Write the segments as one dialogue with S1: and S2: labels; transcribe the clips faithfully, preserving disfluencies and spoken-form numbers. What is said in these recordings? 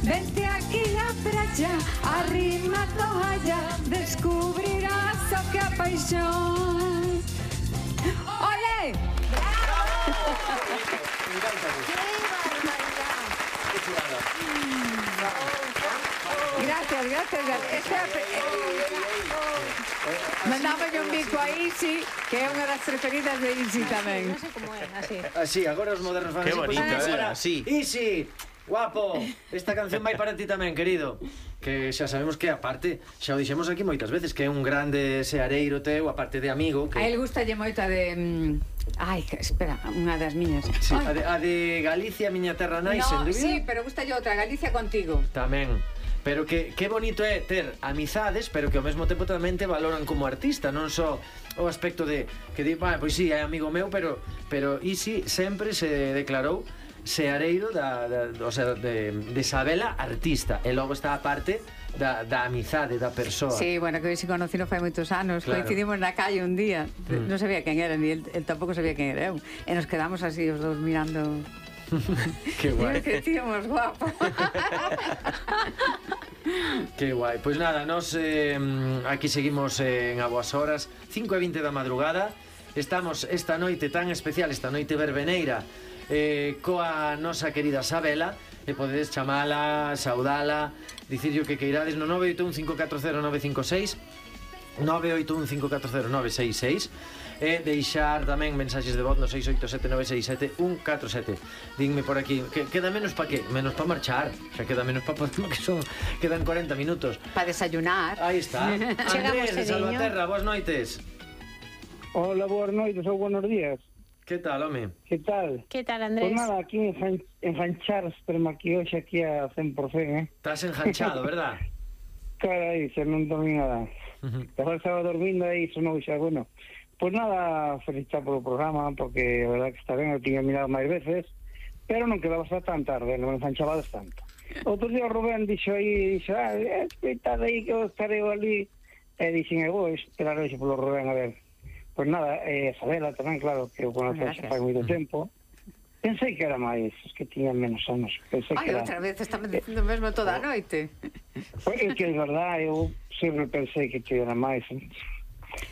S1: Vente aquí a praia, arrima a toalla, descubrirás o que a paixón. Ole! Gracias, gracias. Mandámolle un bico a Isi, que é unha das preferidas de Isi tamén.
S2: Non sei como é, así.
S3: Así, agora os modernos fan
S4: Que
S3: así.
S4: bonito,
S3: Pues,
S4: eh,
S3: ahora,
S4: así.
S3: Isi, guapo, esta canción vai para ti tamén, querido. Que xa sabemos que, aparte, xa o dixemos aquí moitas veces, que é un grande seareiro teu, aparte de amigo. Que...
S1: A él gustalle moito a de... Ai, espera, unha das miñas.
S3: Sí, a de, a de Galicia, miña terra nai,
S1: No,
S3: sen dúbida.
S1: sí, pero gustalle outra, Galicia contigo.
S3: Tamén. Pero que, que bonito é ter amizades, pero que ao mesmo tempo tamén te valoran como artista, non só o aspecto de que di, bah, pois sí, é amigo meu, pero pero Isi sempre se declarou seareiro da, da, o sea, de, de Isabela artista, e logo está a parte da, da amizade da persoa.
S1: Sí, bueno, que hoxe se conocino fai moitos anos,
S3: Claro.
S1: coincidimos na calle un día,
S3: Mm.
S1: non sabía quen era, ni el, el tampouco sabía quen era eu, e nos quedamos así os dous mirando.
S3: Que guai.
S1: Dios, que tíamos guapo.
S3: Que guai. Pois nada, nos eh, aquí seguimos eh, en A Boas Horas, cinco e vinte da madrugada. Estamos esta noite tan especial, esta noite verbeneira, eh, coa nosa querida Sabela, e podedes chamala, saudala, dicirlle o que queirades no nove oito un cinco catro cero nove cinco seis, nove oito un cinco catro cero nove seis seis, e deixar tamén mensaxes de voz no seis oito sete nove seis sete un catro sete. Dinme por aquí, que queda menos pa que? Menos pa marchar, xa queda menos pa que son, quedan cuarenta minutos.
S1: Para desayunar.
S3: Aí está.
S2: Chegamos,
S3: Andrés de
S2: cediño.
S3: Salvaterra, boas noites.
S5: Hola, boas noites ou buenos días.
S3: Que tal, home?
S5: Que tal?
S2: Que tal,
S5: Pues
S2: Andrés?
S5: nada, aquí en enganchar aquí hoxe aquí a cen por cen, eh?
S3: Estás enganchado, verdad?
S5: Carai, se non dormí nada. Agora estaba dormindo aí, sonou xa, bueno. Pues nada, felicitar polo programa, porque a verdad que está ben, eu tiña mirado máis veces, pero non quedabas tan tarde, non enganchabades tanto. Outro día o Rubén dixo aí, dixo, ah, esperad aí que eu estarei ali, e dixen, eu vou esperar hoxe polo Rubén, a ver. Pues nada, eh, Sabela tamén, claro, que eu conoce xa fai moito tempo. Pensei que era máis, es que tiña menos anos. Pensei
S1: Ai,
S5: que era...
S1: outra vez estamos dicindo mesmo toda a noite.
S5: Pues é que é verdad, eu sempre pensei que te era máis.
S1: Bueno,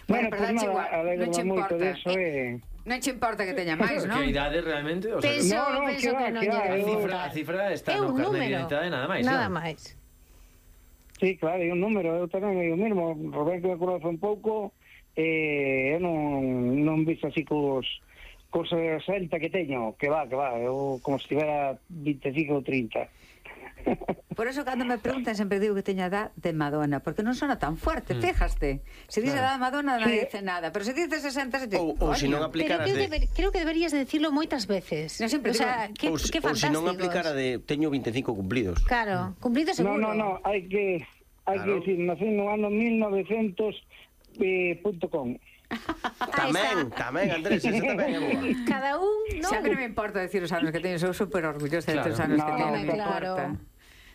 S5: Bueno,
S1: pero
S5: pues
S1: dache
S5: nada,
S1: igual, non
S5: alegro
S1: che
S5: moito
S1: importa.
S5: deso e...
S1: Non che importa que teña máis, non?
S3: Que idade realmente? O sea,
S2: Penso,
S5: No, no,
S2: penso
S5: que va,
S2: que non
S5: que va,
S2: lle
S3: a
S5: eu-
S3: cifra, a cifra está
S2: É
S3: no
S2: un
S3: carnet de
S2: número.
S3: identidade, nada máis.
S2: Nada
S3: non?
S2: máis.
S5: Sí, claro, é un número, eu tamén é o mesmo. Rubén que me conoce un pouco, eh, eu non, non visto así cos, cos sesenta que teño, que va, que va, eu como se tivera vinte e cinco ou trinta.
S1: Por eso cando me preguntan sempre digo que teña edad de Madonna, porque non sona tan fuerte,
S3: Mm.
S1: fíjaste. Se dice edad
S3: Claro.
S1: de Madonna non
S5: Sí.
S1: dice nada, pero se dice sesenta se dice,
S4: Ou, ou se non
S2: Pero
S4: aplicaras
S2: creo,
S4: de...
S2: deber, creo que deberías de decirlo moitas veces.
S1: No, sempre
S2: o sea,
S1: digo-
S2: que,
S4: ou, se-
S2: que
S4: ou se non
S2: fantásticos.
S4: aplicara de teño vinte e cinco cumplidos.
S2: Claro, cumplido
S5: No,
S2: seguro.
S5: no, no, hai que hai
S4: Claro.
S5: que decir, nací no ano mil novecientos punto com.
S4: Tamén, tamén, Andrés, ese tamén é boa.
S2: Cada un, non?
S1: Xa que non me importa decir os anos que teño, sou super orgullosa de
S3: Claro.
S1: os anos que
S5: No,
S1: teño, non me
S2: claro.
S1: importa.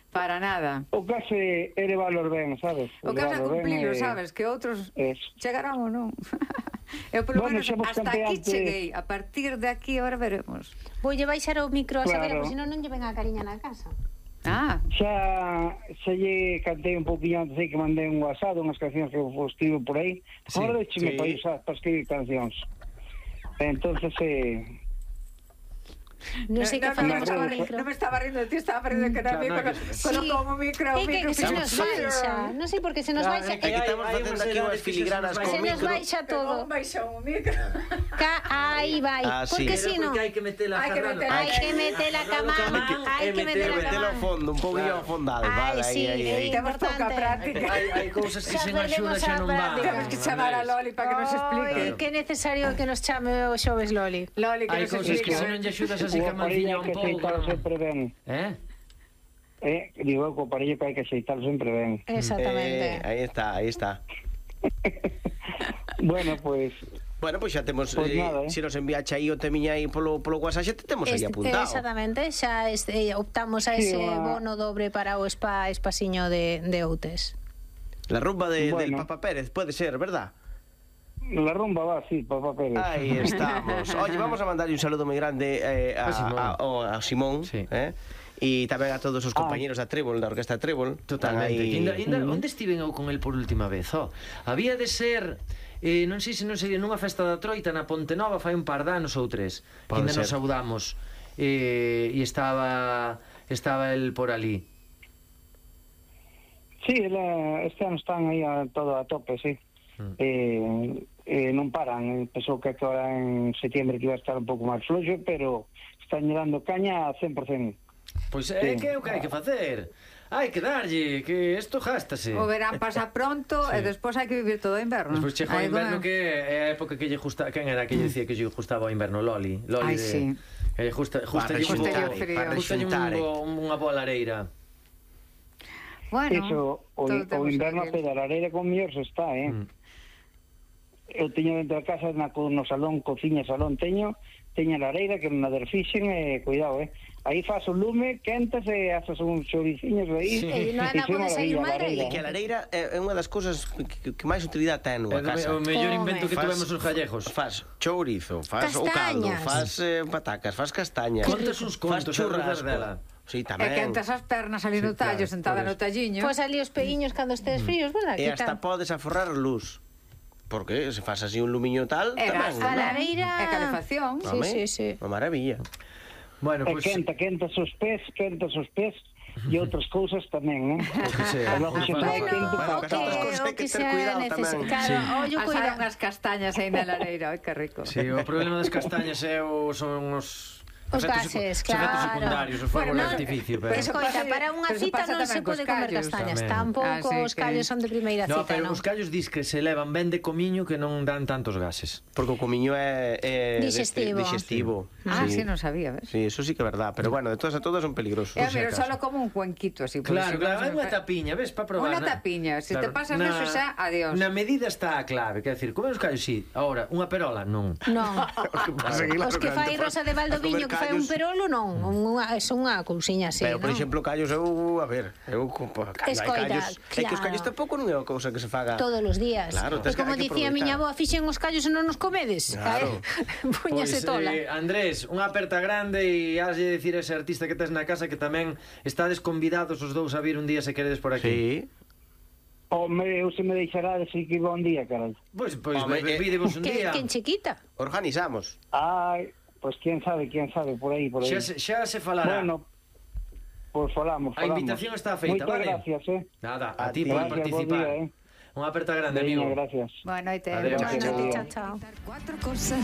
S1: Para nada.
S5: O caso é elevarlos ben, sabes?
S1: O que vas a
S5: Elevarlos ben
S1: cumplilo,
S5: e-
S1: sabes, que outros
S5: Eso.
S1: chegarán ou non. Eu polo
S5: Bueno,
S1: menos
S5: xa vos
S1: hasta
S5: contei
S1: aquí
S5: antes-
S1: cheguei, a partir de aquí ahora veremos.
S2: Voulle baixar o micro a Sabela,
S5: Claro.
S2: porque senón non lle ven a cariña na casa.
S1: Ah,
S5: Xa, xa lle cantei un pouquinho antes aí que mandei un WhatsApp, unhas cancións que vos escribo por aí.
S3: Sí,
S5: Agora deixeme
S4: sí.
S5: para usar para escribir cancións. Entonces, eh,
S2: Non sei que
S1: no,
S2: facemos
S1: me
S2: con o
S1: estaba,
S2: micro.
S1: non me estaba rindo de ti, estaba rindo que era
S3: Claro,
S1: mí,
S3: no,
S1: colo-
S3: que-
S1: colocou o micro, o
S2: É que,
S1: micro.
S2: que se nos
S1: fixo-
S2: baixa. Non sei por que se nos
S3: Claro,
S2: baixa.
S3: é que
S4: Aquí
S3: hai-
S4: estamos
S3: hai
S4: facendo
S3: unhas
S4: aquí unhas
S3: edades que se
S4: filigranas
S3: nos
S4: con
S2: Se nos
S4: micro.
S2: baixa todo.
S1: Un baixou o micro.
S2: Ca aí vai.
S4: Ah, sí.
S2: Porque
S4: Pero
S2: si non,
S3: Porque hai que metela
S1: Hai que
S3: agarrando.
S1: metela-
S2: hai que meter a cama, hai que meter a
S4: Metelo a
S2: cama.
S4: fondo, un pouquinho
S3: Claro.
S4: afondado.
S2: Ai,
S4: Vale, aí,
S2: sí,
S4: aí,
S2: é
S4: aí.
S1: Temos pouca
S2: importante.
S1: práctica.
S3: Hai, hai cousas que
S2: Xa
S3: sen
S2: perdemos
S3: axuda xa
S2: a
S3: non van.
S2: práctica.
S1: Temos que chamar a Loli para que nos explique.
S2: Ai, que necesario que nos chame o xoves Loli.
S1: Loli, que
S3: Hai
S1: nos
S3: cousas que
S1: explique.
S3: se non lle axudas así
S5: o
S3: que
S5: aparello
S3: manciña
S5: hai
S3: un
S5: que
S3: pouco.
S5: aceitarlo sempre ben.
S3: Eh?
S5: Eh, digo, co aparello que hai que aceitarlo sempre ben.
S2: Exactamente.
S4: Eh, aí está, aí está.
S5: Bueno, pues...
S4: Bueno, pois pues xa temos,
S5: Pois
S4: eh,
S5: nada, eh.
S4: se nos enviache aí o temiña aí polo, polo WhatsApp, xa te temos aí
S2: Este-
S4: apuntado.
S2: Exactamente, xa este, optamos a
S5: Sí,
S2: ese
S5: va.
S2: bono dobre para o spa espasiño de, de Outes.
S4: La rumba de, del
S5: Bueno.
S4: Papa Pérez, puede ser, ¿verdad?
S5: La rumba va, sí, papá Pérez.
S4: Ahí estamos. Oye, vamos a mandarle un saludo muy grande eh, a,
S3: A Simón.
S4: a- o a Simón,
S3: Sí.
S4: eh, E tamén a todos os
S5: Ah.
S4: compañeros da Trébol, da Orquesta Trébol.
S3: Totalmente.
S4: Aí...
S3: Inda, inda, onde estiven eu con el por última vez? Oh, había de ser, eh, non sei se non sei, nunha festa da Troita na Ponte Nova fai un par de anos ou tres. Que
S4: Pode
S3: ainda nos
S4: ser.
S3: saudamos. Eh, e estaba estaba el por ali.
S5: Sí, la, este ano están aí a todo a tope, sí.
S3: Mm.
S5: Eh, eh, non paran. Pensou que agora en setembro que iba a estar un pouco máis floxo, pero están dando caña a cen por cento.
S3: Pois é
S5: Sí.
S3: que é o que hai que facer. Hai que darlle, que isto gástase.
S1: O verán pasa pronto
S3: Sí.
S1: e despois hai que vivir todo o inverno.
S3: Despois chega o
S1: Aí
S3: inverno
S1: como-
S3: que é a época que lle justa, quen era que lle dicía que lle gustaba o inverno? Loli, Loli
S1: Ai,
S3: de
S1: sí.
S3: que lle justa, justa
S4: Para
S3: lle un
S1: rexuntar,
S3: bo-
S1: frío.
S4: para
S3: justa lle un
S4: rexuntar, eh.
S3: bo- unha boa lareira.
S1: Bueno,
S5: Eso, o,
S1: todo
S5: o
S1: temos
S5: inverno a
S1: que-
S5: pedalareira con mellor se está, eh?
S3: Mm.
S5: Eu teño dentro da casa, na, co- no salón, cociña, salón, teño, teño a lareira que na derfixen, e eh, cuidado, eh? Aí faz o lume, quentas e haces uns choriciños aí.
S3: Sí.
S2: E non
S5: e
S2: anda
S5: foi
S2: pode sair
S5: maravilla,
S2: mal de aí.
S5: lareira.
S4: Que a lareira é unha das cousas que, que máis utilidade ten
S3: É
S4: nunha
S3: o me-
S4: casa.
S3: o mellor
S2: Come.
S3: invento que
S4: Faz-
S3: tuvemos os gallegos.
S4: Faz chourizo, faz o caldo,
S2: Castañas.
S4: faz eh, patacas, faz castañas.
S3: Contas uns
S4: faz
S3: contos,
S4: churrasco.
S3: dela.
S4: Sí,
S1: E
S4: tamén.
S1: quentas as pernas ali no
S3: Sí, claro,
S1: tallo, sentada
S3: por
S1: no
S3: eso.
S1: talliño.
S2: Pois ali os peguiños cando estes fríos, verdad?
S4: E
S2: Que
S4: hasta
S2: tal?
S4: podes aforrar luz. Porque se faz así un lumiño tal,
S1: E
S4: tamén.
S1: gas,
S2: A
S4: non?
S2: lareira...
S1: E calefacción.
S2: Sí,
S4: Home,
S2: sí, sí.
S4: Unha maravilla.
S3: Bueno,
S5: E
S3: pois
S5: quenta, quentas os pés, quentas os pés, e outras cousas tamén, eh?
S3: que sea.
S5: E logo xe está
S2: Bueno,
S5: quente
S2: o
S5: para
S2: que,
S4: Bueno, outras cousas hai
S2: o
S4: que
S2: que
S4: ter
S2: sea
S4: cuidado
S2: necesario.
S4: tamén.
S2: Claro,
S3: Sí.
S2: ollo,
S1: As
S2: cuidado.
S1: unhas castañas aí na lareira, ai que rico.
S3: Sí, o problema das castañas é o, son os
S2: Os
S3: efectos
S2: gases,
S3: secu- os efectos
S2: claro.
S3: secundarios, os fogos
S1: Bueno,
S3: de
S1: non,
S3: artificio, pero...
S1: Eso
S2: Escoita,
S1: pasa-
S2: para unha
S1: pero
S2: cita
S1: pasa
S2: non
S1: tamén
S2: se
S1: cos
S2: pode comer
S1: callos.
S2: castañas.
S3: Tamén.
S2: Tampouco
S1: Así
S2: os
S1: que-
S2: callos son de primeira
S3: No,
S2: cita,
S3: pero
S2: non?
S3: os callos dis que se levan ben de comiño que non dan tantos gases.
S4: Porque o comiño é, é
S2: Digestivo.
S4: deste- digestivo.
S1: Ah, sí, non sabía, ves?
S4: Sí, eso sí que é verdad, pero bueno, de todas a todas son peligrosos.
S1: É,
S4: por si
S1: pero
S4: acaso.
S1: solo como un cuenquito así. por
S3: Claro,
S1: si
S3: claro, hai
S1: vas a
S3: unha
S1: me-
S3: tapiña, ves, para probar.
S1: Unha
S3: na-
S1: tapiña, se te pasas eso xa, adiós.
S3: Na medida está a clave, quer decir, comer os callos, sí, ahora, unha perola, non.
S2: Non.
S4: Pasa que, claro,
S2: Os que fai
S4: cando
S2: Rosa de
S4: vas a
S2: Valdoviño
S4: comer
S2: que fai un
S4: callos-
S2: perolo, non. Unha, é unha cousiña así,
S4: Pero, por
S2: non?
S4: exemplo, callos, eu, a ver, eu, cando hai
S2: Escoita,
S4: callos, é que os
S2: claro.
S4: callos tampouco non é unha cousa que se faga
S2: Todos os días.
S4: Claro,
S2: E
S4: tes que-
S2: como
S4: hai que
S2: dicía a miña
S4: aproveitar.
S2: avó, fixen os callos e non nos comedes.
S4: Claro.
S2: Puñase
S3: Pois,
S2: tola.
S3: eh, Andrés, unha aperta grande e haslle decir a ese artista que tes na casa que tamén estades convidados os dous a vir un día se queredes por aquí.
S4: Sí.
S5: Home, eu se me deixará de seguir que bon día, carai.
S3: Pois, pois,
S4: Home,
S3: Home,
S4: eh,
S3: videvos un
S2: Que,
S3: día.
S2: que en chiquita.
S4: Organizamos.
S5: Ai, pois quién sabe, quién sabe, por aí, por aí.
S3: Xa se, xa se falará.
S5: Bueno, pois falamos,
S3: A
S5: falamos.
S3: invitación está feita,
S5: Moitas
S3: vale?
S5: gracias, eh.
S3: Nada,
S4: A
S3: a ti
S4: ti.
S3: por
S5: Gracias, bo
S3: participar.
S5: día, eh.
S3: Unha aperta grande,
S5: Veña,
S3: amigo.
S5: gracias.
S1: Boa noite.
S3: Adeu.
S1: Boa
S2: Buenas
S1: noite.
S2: noches, chao, chao.
S1: Cuatro cosas